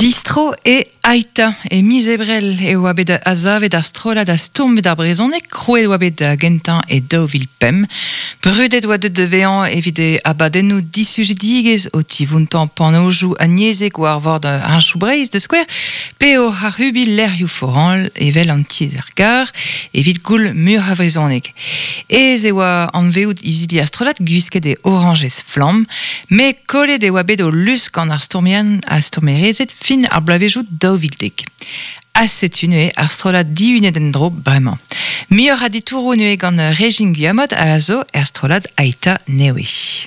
Distro e Ai'ta. E miz Ebrel e oa bet azavet ar strollad a stourm evit ar brezhoneg, krouet e oa bet da gentañ e 2005. Brudet oa deuet da vezañ evit e abadennoù disujidigezh o tivountañ panojoù aniezek war vord Heñchoù Breizh da skouer, pe oc'h ac'hubiñ lec'hioù foran evel an tiez-gar evit goul muioc'h a vrezhoneg. Aes e oa anvezout izili ar strollad gwisket e orañjez flamm, met kollet e oa bet o lusk gant ar stourmerien ha stourmerezed fin ar bloavezhioù 2010. Ha setu neuze ar strollad dihunet en-dro bremañ. Muioc'h a ditouroù neuze gant Régine Guillamot a zo er strollad Ai'ta nevez.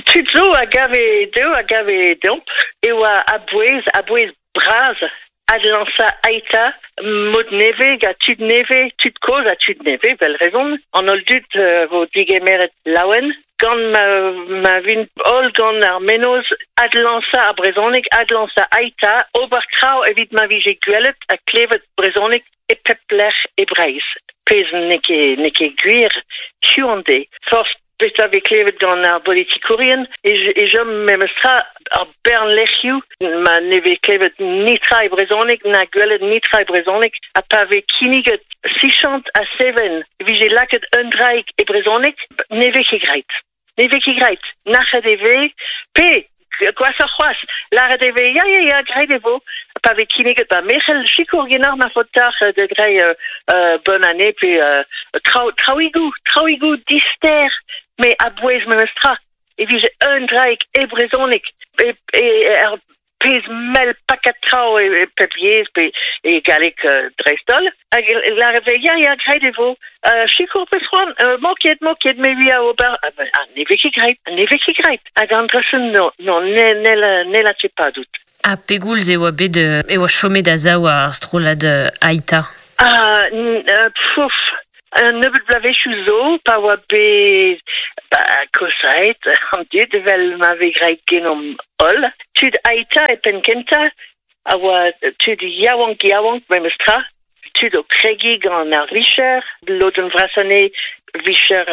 Tud zo a gave dezho, a gave deomp e oa a-bouez, a-bouez bras adlañsañ Ai'ta mod nevez gant tud nevez, tud kozh ha tud nevez, 'vel rezon. An holl dud vo digemeret laouen gant ma, ma vint holl gant ar mennozh adlañsañ ar brezhoneg, adlañsañ Ai'ta, ober traoù evit ma vije gwelet ha klevet brezhoneg e pep lec'h e Breizh. Pezh n'eo ket, n'eo ket gwir hiziv an deiz. Forzh Petra vez klevet gant ar bolitikourien e chom memestra ar bern lec'hioù ma ne vez klevet netra e brezhoneg na gwelet netra e brezhoneg ha pa vez kinniget sichant ha seven e vije lakaet un draig e brezhoneg ne vez ket graet. Ne vez ket graet. Nac'het e vez pe Gwashoc'h c'hoazh, lâret e vez ya, ya, ya, graet e vo. Pa vez kinniget ba me c'hell sikour genoc'h ma faot deoc'h da greiñ bonne année pe traoù, traoùigoù, traoùigoù dister, met a-bouez memestra e vije un draig e brezhoneg e, e, er pezh mell pakad traoù e pep yezh pe e galleg dreist-holl. Hag lâret vez ya, ya, graet e vo. Sikour 'peus c'hoant? Mo ket, mo ket, me 'vi a ober. Ah, ne vez ket graet, ne vez ket graet. Hag an dra-se, non, non, n'hella ket padout. Ha pegoulz e oa bet e oa chomet a-sav ar strollad Ai'ta? Ah, pouf, un nebeud bloavezhioù zo, pa oa bet ba, kosaet an dud evel ma vez graet genomp holl. Tud Ai'ta e penn-kentañ a oa tud yaouank-yaouank memestra, tud o kregiñ gant ar vicher, lodenn vrasañ anezhe vicher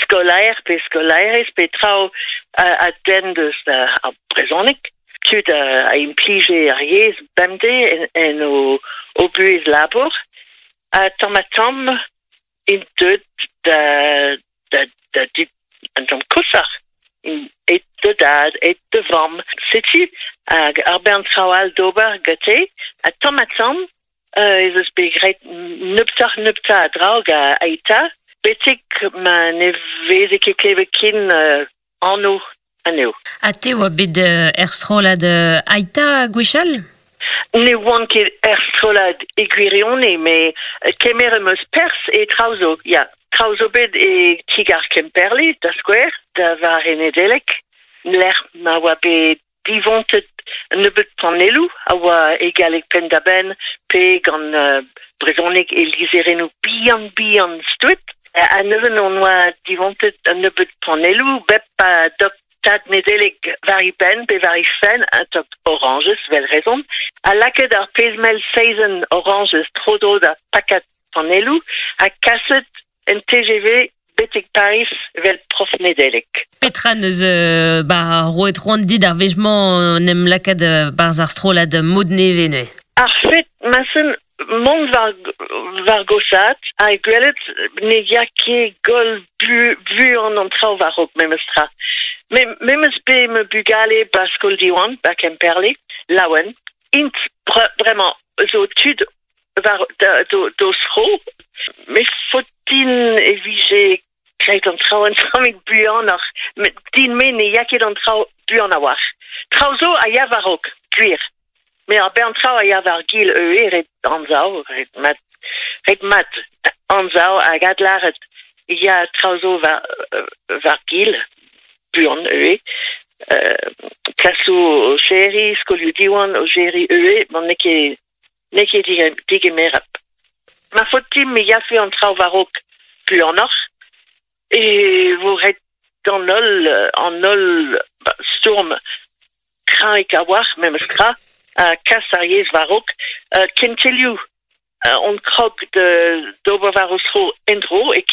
skolaer pe skolaerez pe traoù a denn deus ar brezhoneg. Tud a implije ar yezh bemdez en o buhez labour. Ha tamm-ha-tamm int deuet da da da dud un tamm koshoc'h. Aet da dad, aet da vamm. Setu hag ar bern traoù all d'ober gante. Ha tamm-ha-tamm ez eus bet graet nebeutoc'h-nebeutañ a draoù gant Ai'ta betek ma ne veze ket klevet ken anv anezho. Ha te oa bet er strollad Ai'ta gwechall? Ne oan ket er strollad e gwirionez, met kemer em eus perzh e traoù zo, ya. Traoù zo bet e ti-gar Kemperle, da skouer, da vare Nedeleg, lec'h ma oa bet divontet un nebeud panelloù a oa e galleg penn-da-benn pe gant brezhoneg e lizherennoù bihan-bihan stouet. Ha neuze hon oa divontet un nebeud panelloù bep a dok tad Nedeleg war e benn pe war he fenn, un tok orañjez, 'vel rezon, ha lakaet ar pezh-mell seizenn orañjez tro-dro d'ar pakad panelloù ha kaset en TGV betek Pariz evel prof Nedeleg. Petra 'neus ba roet c'hoant dit ar wech-mañ en em lakaat 'barzh ar strollad mod nevez neuze? Ar fed ma-sen mont war, war goshaat ha gwelet ne ya ket goll buan an traoù war-raok memestra. Me memes bet ma bugale ba skol Diwan, ba Kemperle, laouen. Int bremañ zo tud war d'o zro. Me faot din e vije graet an traoù un tammig buanoc'h. Met din-me ne ya ket an traoù buan a-walc'h. Traoù zo a ya war-raok, gwir. Met ar bern traoù a ya war-gil ivez, ret anzav, ret mat, ret mat anzav hag adlâret e ya traoù zo war war-gil, buan ivez. Klasoù o serriñ, skolioù Diwan o serriñ ivez, ma n'eo ket N'eo ket digemerap. Ma faot dimp e yafe an traoù war-raok buanoc'h e vo ret d'an holl an holl stourm kreñv a-walc'h memes tra ha kas ar yezh war-raok. Kentelioù on krog d'ober war o zro en-dro e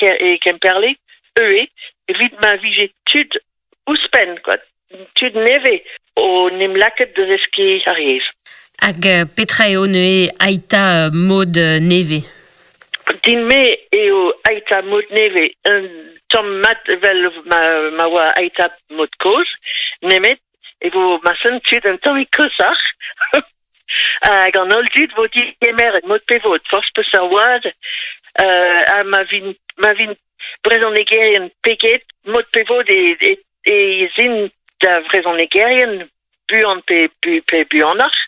Kemperle ivez evit ma vije tud ouzhpenn kwa. tud neve o nem laket da zeskiñ ar yezh. Hag petra eo neuze Ai'ta mod nevez? Din-me eo Ai'ta mod nevez un tamm mat evel ma oa Ai'ta mod kozh, nemet e vo marsen tud un tammig koshoc'h hag an holl dud vo digemeret mod pe vod, forzh peseurt oad, ha ma vint ma vint brezhonegerien pe get, mod pe vod e ez int da vrezhonegerien buan pe pe buanoc'h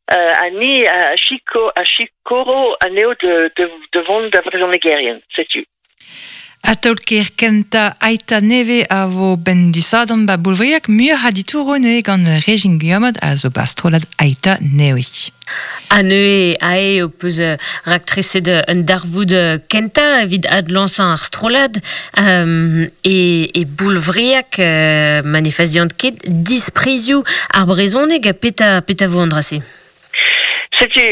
ha ni a siko a sikoro anezho da vont da vrezhonegerien, setu. Ha taol-kaer kentañ Ai'ta nevez a vo 'benn disadorn 'ba Boulvriag muioc'h a ditouroù neuze gant Régine Guillamot a zo 'ba strollad Ai'ta nevez. Ha neuze aze ho peus raktreset un darvoud kentañ evit adlañsañ ar strollad e, e Boulvriag ma ne fazian ket disprizioù ar brezhoneg petra petra vo an dra-se? Setu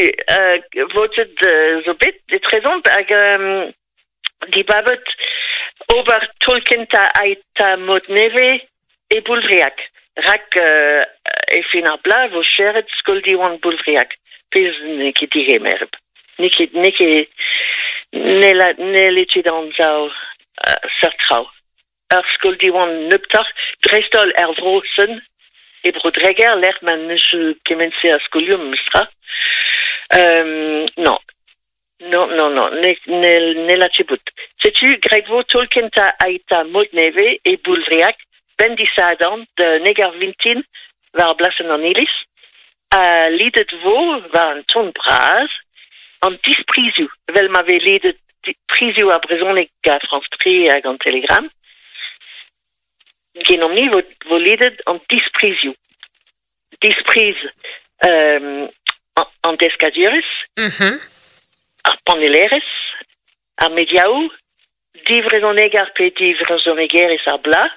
votet zo bet etrezomp hag dibabet ober taol kentañ Ai'ta mod nevez e Boulvriag rak e fin ar bloaz vo serret skol Diwan Boulvriag pezh n'eo ket digemeret. N'eo ket n'eo ket n'helle ket anzav seurt traoù. Ur skol Diwan nebeutoc'h, dreist-holl er vro-sen, e Bro-Dreger, lec'h ma n'eus kement-se a skolioù memestra. Non. Non, non, non, n'hella ket bout. Setu graet vo taol kentañ Ai'ta mod nevez e Boulvriag, 'benn disadorn da neg ar vintin war blasenn an iliz. Ha lidet vo war an ton bras an disprizioù, evel ma vez lidet prizioù ar brezhoneg gant France 3 hag an Télégramme. Genomp-ni vo, vo lidet an disprizioù. Dispriz an deskadurezh, ar panellerezh, ar mediaoù, divrezhoneger pe divrezhonegerez ar bloaz,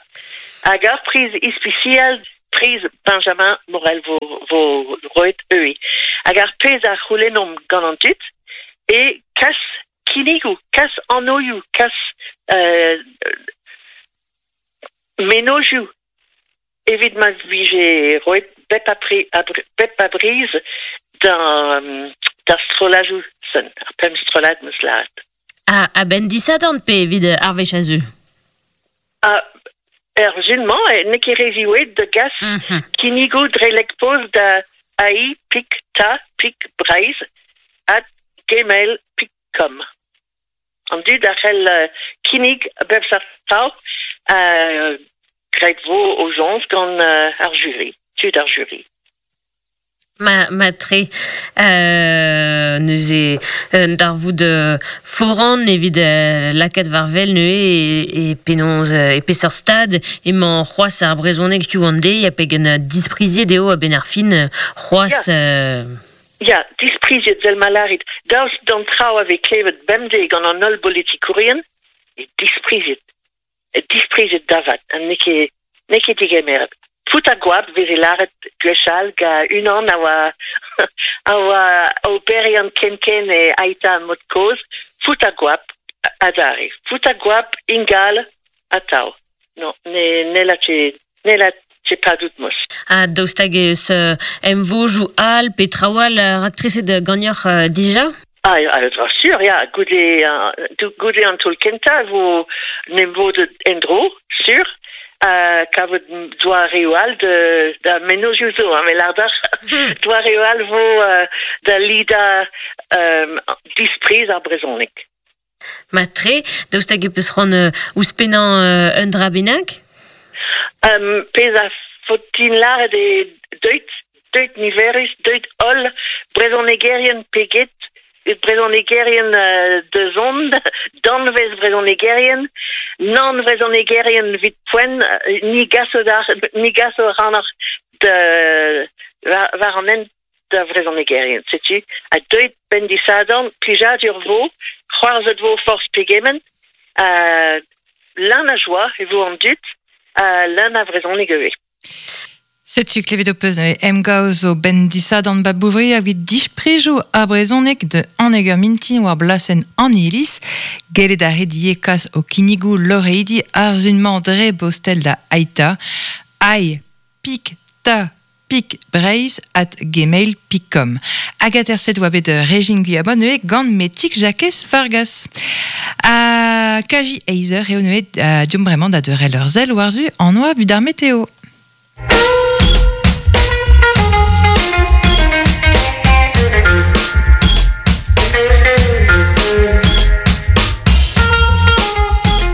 hag ur priz ispisial, priz Benjamin Morel vo, vo roet ivez. Hag ar pezh a c'houlennomp gant an dud eo kas kinnigoù, kas anvioù, kas mennozhioù Evit ma vije roet bep a bep a briz d'ar strolladoù-sen, ar pemp strollad 'm eus lâret. Ha a-benn disadorn pe evit ar wech a zeu? Er sul-mañ n'eo ket re ziwezhat da gas kinnigoù dre lek-post da ai pik ta pik breizh at gmail pik com. An dud a c'hell kinnig a bep seurt traoù graet vo o soñj gant ar juri, tud ar juri. Ma, matre neuze un darvoud foran evit lakaat war wel neuze e, e penaos e peseurt stad emañ c'hoazh ar brezhoneg hiziv an deiz ha pegen dispriziet eo a-benn ar fin c'hoazh Ya, dispriziet 'vel ma lârit. Daoust d'an traoù a vez klevet bemdez gant an holl bolitikourien, eo dispriziet. Dispriziet da vat, ha n'eo ket n'eo ket degemeret. Fout ha goap 'veze lâret gwechall gant unan a oa a oa oberiant ken-ken e Ai'ta mod-kozh, fout ha goap adarre. Fout ha goap ingal atav. Non, ne n'hella ket n'hella ket padout mos. Ha daoust hag eus emvojoù all pe traoù all raktreset ganeoc'h dija? Ah, ah, sur, ya, goude, goude an taol kentañ e vo 'n em vodet en-dro, sur, ha kavout doareoù all da, da mennozhioù zo, hein, me lâr deoc'h. Doareoù all vo da lidañ dispriz ar brezhoneg. Mat-tre, daoust hag e peus c'hoant ouzhpennañ un dra bennak? Pezh a faot din lâret eo deuit, deuit niverus, deuit holl, brezhonegerien pe get, brezhonegerien da zont, danvez brezhonegerien, nann vrezhonegerien evit poent, ni gaso ni gaso ac'hanoc'h da war an hent da vrezhonegerien. Setu, ha deuit 'benn disadorn, plijadur 'vo, c'hoarzhet 'vo forzh pegement, ha leun a joa e vo an dud, ha leun a vrezhoneg ivez. Setu klevet ho peus neuze emgav zo 'benn disadorn 'ba Bouvriag evit disprijoù ar brezhoneg da anneg ur mintin war blasenn an iliz. Gellet a rit ivez kas ho kinnigoù loreidi ar sun-mañ dre bostel da Ai'ta. Ai! pik ta pik breizh at gmail pik com. Hag aterset oa bet Régine Guyabon neuze gant Metig Jakez Vargas. Ha kaji eizh eur eo neuze deomp bremañ da deurel ur sell war-zu an oabl evit ar meteo.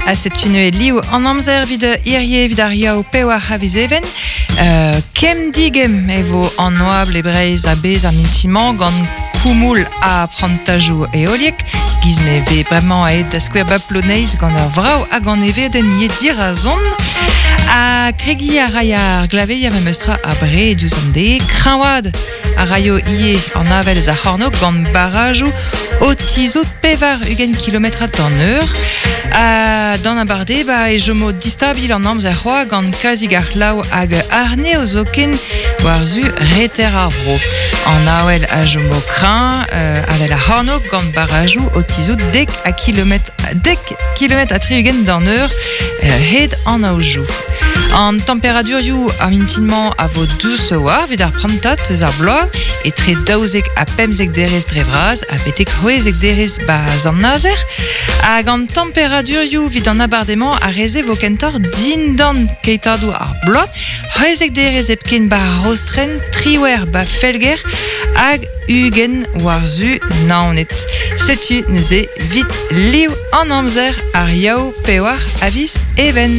Ha setu neuze liv an amzer evit hirie evit ar yaou pewar a viz Even. Kemm digemm e vo an oabl e Breizh a-bezh ar mintin-mañ gant koumoul ha prantajoù heoliek. Giz me vez bremañ aet da skouer ba Ploneiz gant ur vrav hag an evedenn ivez dirazon. Ha kregiñ a ray ar glaveier memes tra abred diouzh an deiz. Kreñvaat a raio ivez an avel eus ar c'hornôg gant barrajoù o tizhout 80 kilometrad d'an eur. Ha d'an abardaez ba e chomo distabil an amzer c'hoazh gant kalzik a c'hlav hag arnev zoken war-zu reter ar vro. An avel a chomo kreñv, avel ar c'hornôg gant barrajoù o tizhout dek a kilometr dek kilometr ha 60 d'an eur hed an aojoù. An temperadurioù ar mintin-mañ a vo dous war evit ar prantad eus ar bloaz, etre 12 ha 15 derez dre vras ha betek 16 derez 'ba Sant-Nazer. Hag an temperadurioù evit an abardaez-mañ a reze vo kentoc'h dindan keitadoù ar bloaz, 16 derez hepken 'ba Rostren, 18 'ba Felger hag 20 war-zu Naoned. Setu neuze 'vit liv an amzer ar Yaou pewar a viz Even.